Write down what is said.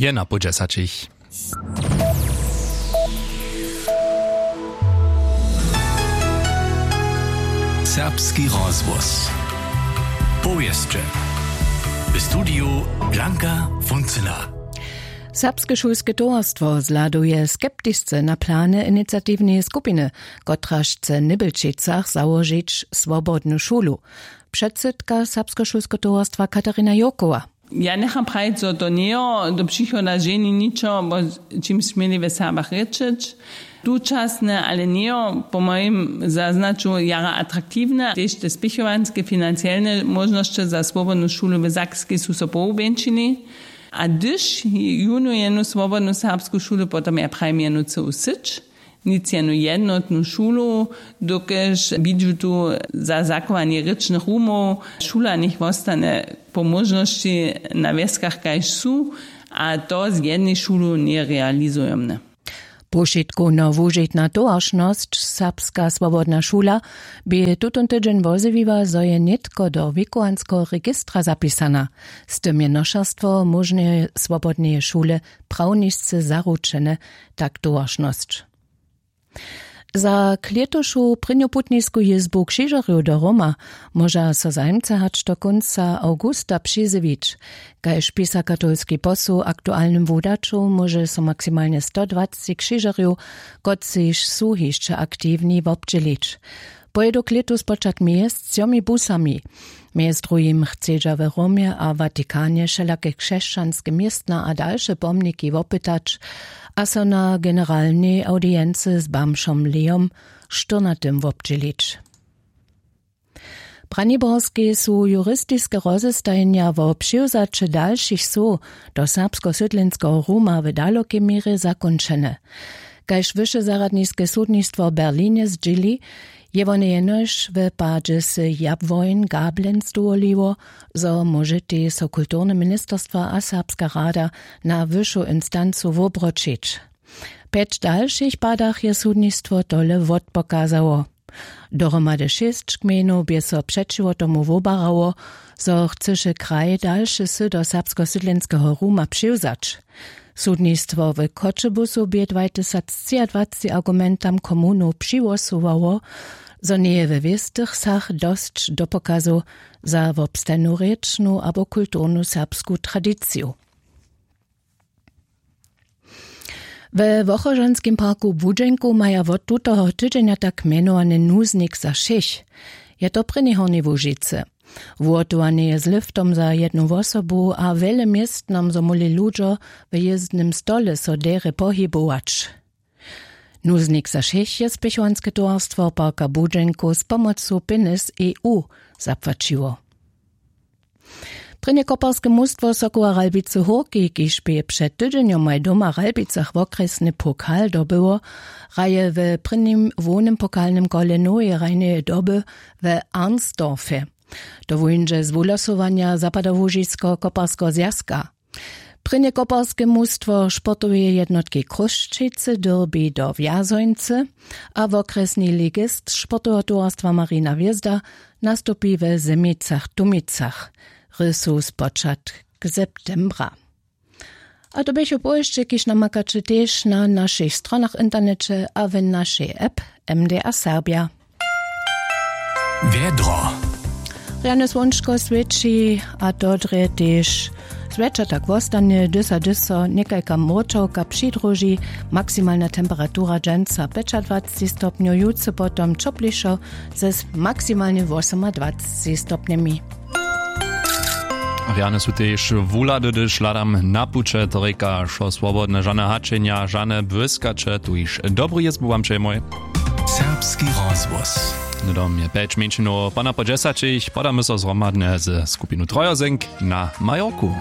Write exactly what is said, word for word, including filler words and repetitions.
Je na pół dźesaćich. Serbski rozhłos. Powěsće. W studiju Blanka Funcyna. Serbske šulske towarstwo zhladuje skeptisce na plany iniciatiwneje skupiny, kotraž chce w Nybjelčicach załožić swobodnu šulu. Předsydka serbskeho šulskeho towarstwa Katarina Jokowa. Ja njecham prajić, zo to njejo do přichoda ženi ničo, wo čimž směli w Serbach rěčeć. Tučasne, ale njejo po mojim zaznaću jara atraktiwne, tež te spěchowanske financielne móžnosće za swobodnu šulu w Sakskej su so powubjeńšili. A hdyž jónu jenu swobodnu serbsku šulu, potom ja prajim jenu cyłu syć. Nic jenu jednotnu šulu, dokelž bidźu tu za zachowanje rěčnych rumow, šula njech wostanje po móžnosći na wjeskach kaž su, a to z jednej šulu njerealizujomne. Powšitkowno wužitna towaršnosć Serbska swobodna šula bě tutón tydźeń wozjewiła, zo je nětko do wěkowanskeho registra zapisana. Z tym je nošerstwo móžneje swobodneje šule prawnisce zaručene, tak towaršnosć. Za klětušu prěnjoputnisku jězbu křižerjow do Roma móža so zajimcy hač do kónca awgusta přizjewić. Kaž pisa katolski posł w aktualnym wudaću, móže so maksimalnje sto dwacci křižerjow, kotřiž su hišće aktiwni, wobdźělić. Pojědu klětu spočatk mjez třomi busami. Mjez druhim chcedźa w Romje a Watikanje wšelake křesćanske městna a dalše pomniki wopytać a so na generalnej awdiency z bamžom Leom štyrnatym wobdźělić. W Braniborskej su juristiske rozestajenja wo přiwzaće dalšich wsow do serbskosydlenskeho ruma w dalokej měrje zakónčene. Kaž wyšezarjadniske sudnistwo w Berlinje zdźěli, je wone jenož w padźe sej Jabłoń Gablenc dowoliło, zo móžetej so kulturne ministerstwa a Serbska rada na wyšu instancu wobroćić. W pjeć dalšich padach je sudnistwo tole wotpokazało. Dohromady šěsć gmejnow bě so přećiwo tomu wobarało, zo chcyše kraj dalše wsy do serbskosydlenskeho ruma přiwzać. Sudnistwo w Choćebuzu bě dwatysactřiadwacci argumentam komunow přihłosowało, zo njeje we wěstych wsach dosć dopokazow za wobstajnu rěčnu abo kulturnu serbsku tradiciju. We Wochožanskim parku w Budźenku maja wot tutoho tydźenja tak mjenowany nuznik za wšěch. Je to w Prěnjej Hornjej Łužicy. Wuhotowane je z liftom za jednu wosobu a wjele městnom, zo móhli ludźo w jězdnym stole so derje pohibować. Nuznik za wšěch je spěchowanske towarstwo parka w Budźenku z pomocu pjenjez E U zapłaćiło. Prěnje koparske mustwo Sokoła Ralbicy Hórki, kiž bě před tydźenjomaj doma w Ralbicach wokrjesny pokal dobyło, hraje w prěnim hłownym pokalnym kole noweje hrajneje doby w Arnsdorfje. To wuńdźe z wuhlosowanja Zapadołužiskeho koparskeho zwjazka. Prěnje koparske mustwo sportoweje jednotki Chrósćicy dyrbi do Wjazońcy a wokrjesni ligist sportoweho towarstwa Marina Hwězda nastupi we Zemicach-Tumicach. Hry su spočatk septembra. A to běchu powěsće, kiž namakaće tež na našich stronach w interneće a w našej app M D A Serbja. Wjedro. Rjane słónčko swěći a to drje tež zwjetša tak wostanje, dysa dyso někajka mróčawka přidruži. Maksimalna temperatura dźensa pjećadwacci stopnjow, jutře potom ćoplišo ze maksimalnje wosomadwacci stopnjemi. Rjane su tež wuhlady, hdyž hladam na puće, to rěka wšo swobodne, žane hačenja, žane błyskaće, tuž dobru jězbu wam přejemoj. Serbski rozhłos. Hnydom je pjeć mjeńšinow pana po dźesaćich, podamy so zhromadnje ze skupinu Trojosenk na Majorku.